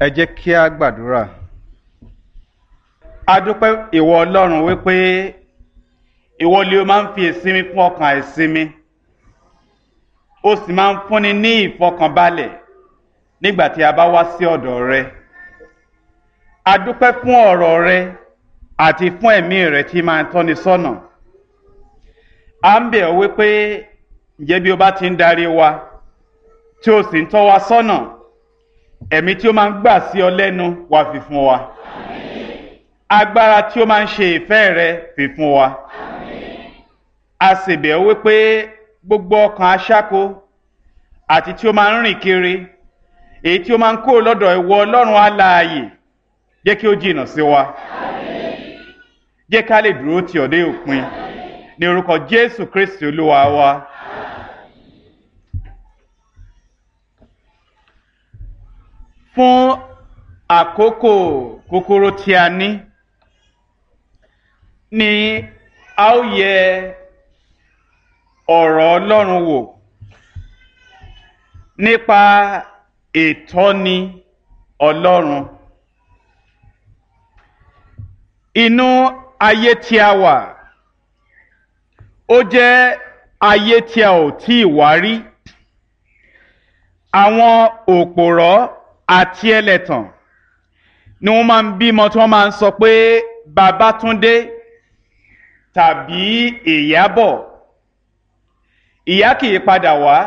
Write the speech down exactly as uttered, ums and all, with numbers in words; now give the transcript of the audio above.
Ẹ jẹ́ kí a gbàdúrà. A dúpẹ́ ìwọ Ọlọ́run wípé ìwọ lè o máa ń fi ìsinmi fún ọkàn àìsinmi. Ó sì máa ń fúnni ní ìfọkànbalẹ̀ nígbà tí a bá wá sí ọ̀dọ̀ rẹ. A dúpẹ́ fún ọ̀rọ̀ rẹ àti fún ẹ̀mí rẹ tí máa ń tọ́ni sọ́nà. À ń bẹ̀ ọ́ wípé ǹjẹ́ bí o bá ti ń darí wa tí o sì ń tọ́ wa sọ́nà, ẹ̀mí tí ó máa ń gbà sí ọ lẹ́nu wá fi fún wa. Agbára tí ó máa ń ṣe ìfẹ́ rẹ fi fún wa. A sì bẹ̀ ọ́ wípé gbogbo ọkàn aṣáko àti tí ó máa ń rìn kiri, èyí tí ó máa ń kó lọ́dọ̀ ìwọ Ọlọ́run alààyè, jẹ́ kí ó jìnnà sí wa. Jẹ́ ká lè dúró tì ọ́ dé òpin. Ní orúkọ Jésù Kristi Olúwa wa. Fún àkókò kúkúrú tí a ní ni a ó yẹ ọ̀rọ̀ Ọlọ́run wò nípa ìtọ́ni Ọlọ́run. Inú ayé tí a wà, ó jẹ́ ayé tí a ò tíì wá rí. Àwọn òpòrọ́ àti ẹlẹ́tàn ni wọ́n máa ń bímọ tí wọ́n máa ń sọ pé Babátúndé tàbí Ìyábọ̀. Ìyá kì í padà wá,